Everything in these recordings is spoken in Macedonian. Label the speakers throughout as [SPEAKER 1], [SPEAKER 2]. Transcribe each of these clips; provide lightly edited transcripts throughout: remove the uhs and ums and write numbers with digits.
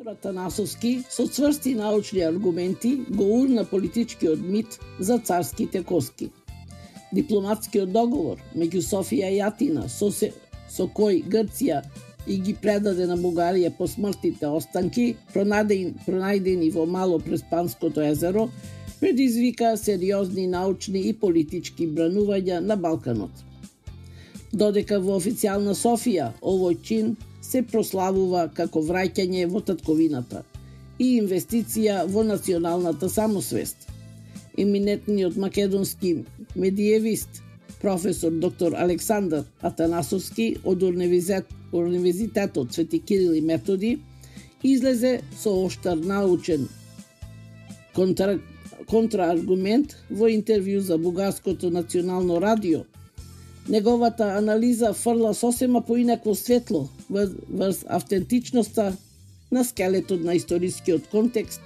[SPEAKER 1] Атанасовски со цврсти научни аргументи го урна политичкиот мит за царските коски. Дипломатскиот договор меѓу Софија и Атина со кој Грција и ги предаде на Бугарија по смртните останки, пронајдени во Мало Преспанското езеро, предизвика сериозни научни и политички бранувања на Балканот. Додека во официјална Софија овој чин се прославува како враќање во татковината и инвестиција во националната самосвест. Еминентниот македонски медиевист, професор доктор Александар Атанасовски од Универзитетот Свети Кирил и Методи излезе со оштар научен контрааргумент во интервју за Бугарското национално радио. Неговата анализа фрла сосема поинакво светло врз автентичноста на скелетот на историскиот контекст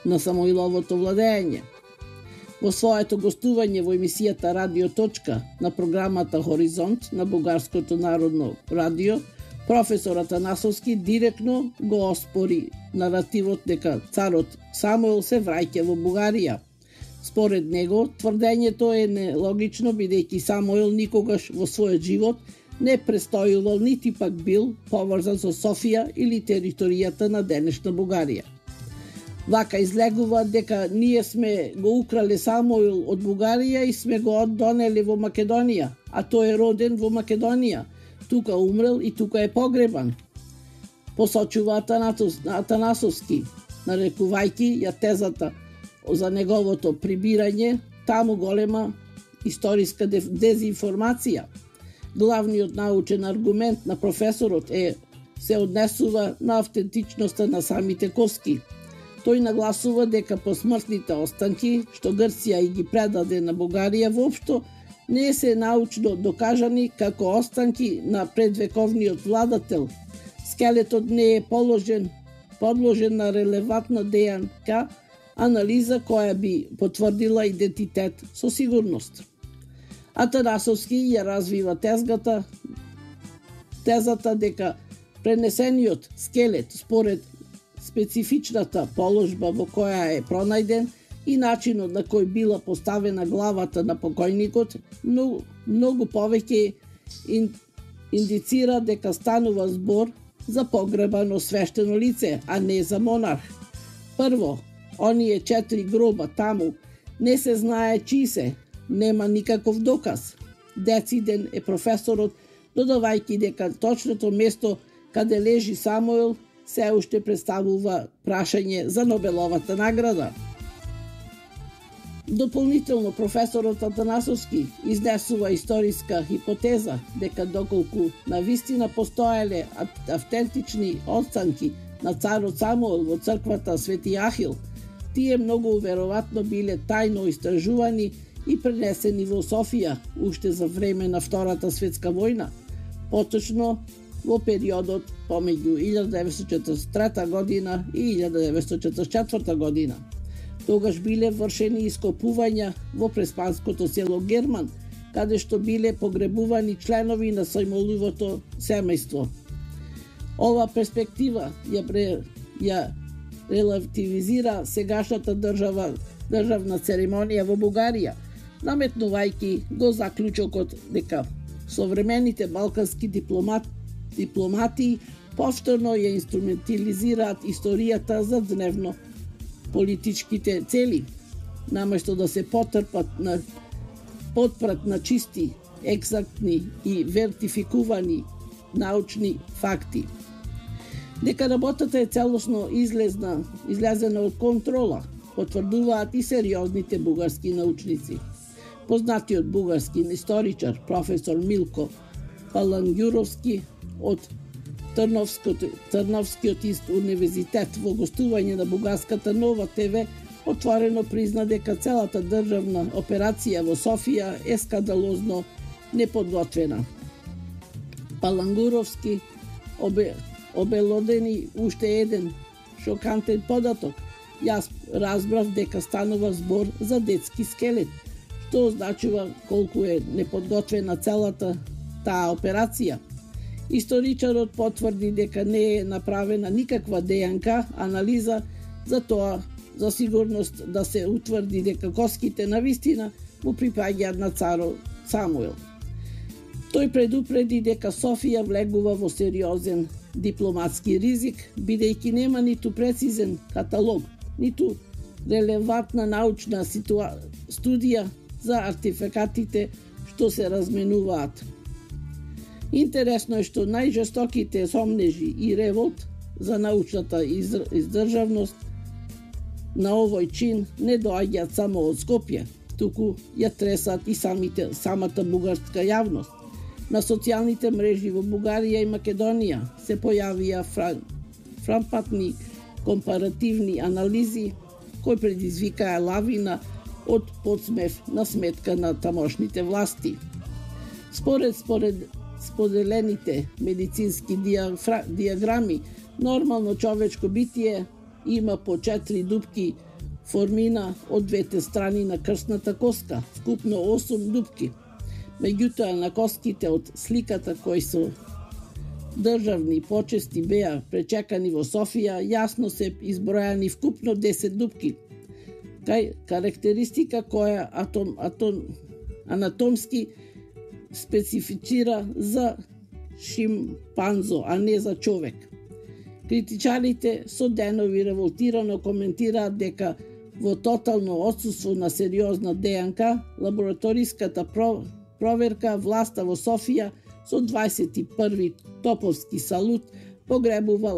[SPEAKER 1] на Самоиловото владење. Во своето гостување во емисијата Радио Точка на програмата Хоризонт на Бугарското народно радио, професор Атанасовски директно го оспори наративот дека царот Самуил се враќа во Бугарија. Според него, тврдењето е нелогично бидејќи Самуил никогаш во својот живот не престојувал нити пак бил поврзан со Софија или територијата на денешна Бугарија. Вака излегува дека ние сме го украле Самуил од Бугарија и сме го донели во Македонија, а тој е роден во Македонија, тука умрел и тука е погребан. Посочува Атанасовски, нарекувајќи ја тезата за неговото прибирање, таму голема историска дезинформација. Главниот научен аргумент на професорот се однесува на автентичноста на самите коски. Тој нагласува дека посмртните останки, што Грција и ги предаде на Бугарија, воопшто не се научно докажани како останки на предвековниот владател. Скелетот не е подложен на релевантна ДНК анализа која би потврдила идентитет со сигурност. Атанасовски ја развива тезата дека пренесениот скелет според специфичната положба во која е пронајден и начинот на кој била поставена главата на покојникот, многу повеќе индицира дека станува збор за погребано свештено лице, а не за монарх. Прво, оние 4 гроба таму не се знае чии се, нема никаков доказ. Дециден е професорот, додавајќи дека точното место каде лежи Самуил се уште представува прашање за Нобеловата награда. Дополнително професорот Атанасовски изнесува историска хипотеза дека доколку навистина постоеле автентични останки на царот Самуил во црквата Свети Ахил, тие многу веројатно биле тајно истражувани и пренесени во Софија уште за време на Втората светска војна, поточно во периодот помеѓу 1943 година и 1944 година. Тогаш биле вршени ископувања во преспанското село Герман, каде што биле погребувани членови на Самуиловото семејство. Ова перспектива ја релативизира сегашната државна церемонија во Бугарија, наметнувајќи го заклучокот дека современите балкански дипломати повторно ја инструментализираат историјата за дневно политичките цели, наместо да се потпрат на чисти, екзактни и вертификувани научни факти. Дека работата е целосно излезена од контрола, потврдуваат и сериозните бугарски научници. Познатиот бугарски историчар професор Милко Палангјуровски од Трновскиот универзитет во гостување на Бугарската Нова ТВ отворено призна дека целата државна операција во Софија е скандалозно неподготвена. Палангуровски обелодени уште еден шокантен податок. Јас разбрав дека станува збор за детски скелет, што означува колку е неподготвена целата таа операција. Историчарот потврди дека не е направена никаква ДНК анализа за тоа, за сигурност да се утврди дека коските навистина му припаѓаат на царот Самуил. Тој предупреди дека Софија влегува во сериозен дипломатски ризик, бидејќи нема ниту прецизен каталог, ниту релевантна научна студија за артефактите што се разменуваат. Интересно е што најжестоките сомнежи и револт за научната издржавност на овој чин не доаѓаат само од Скопје, туку ја тресат и самата бугарска јавност. На социјалните мрежи во Бугарија и Македонија се појавија фрапантни компаративни анализи кои предизвикаа лавина од подсмев на сметка на тамошните власти. Според споделените медицински диаграми, нормално човечко битие има по 4 дупки формина од двете страни на крстната коска, вкупно 8 дупки. Меѓутоа, на коските од сликата кои со државни почести беа пречекани во Софија, јасно се избројани вкупно 10 дупки. Карактеристика која анатомски специфицира за шимпанзо, а не за човек. Критичарите со денови револтирано коментираат дека во тотално отсуство на сериозна ДНК, лабораториската проверка власта во Софија со 21 топовски салут погребува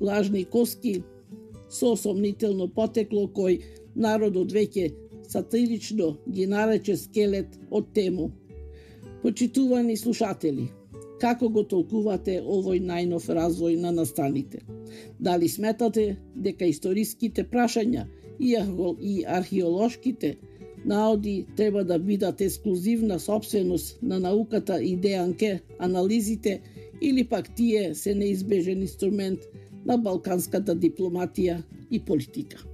[SPEAKER 1] лажни коски со сомнително потекло кој народот веќе сатирично ги нарече скелет од тему. Почитувани слушатели, како го толкувате овој најнов развој на настаните? Дали сметате дека историските прашања и археолошките наоди треба да бидат ексклузивна собственост на науката и ДНК анализите, или пак тие се неизбежен инструмент на балканската дипломатија и политика?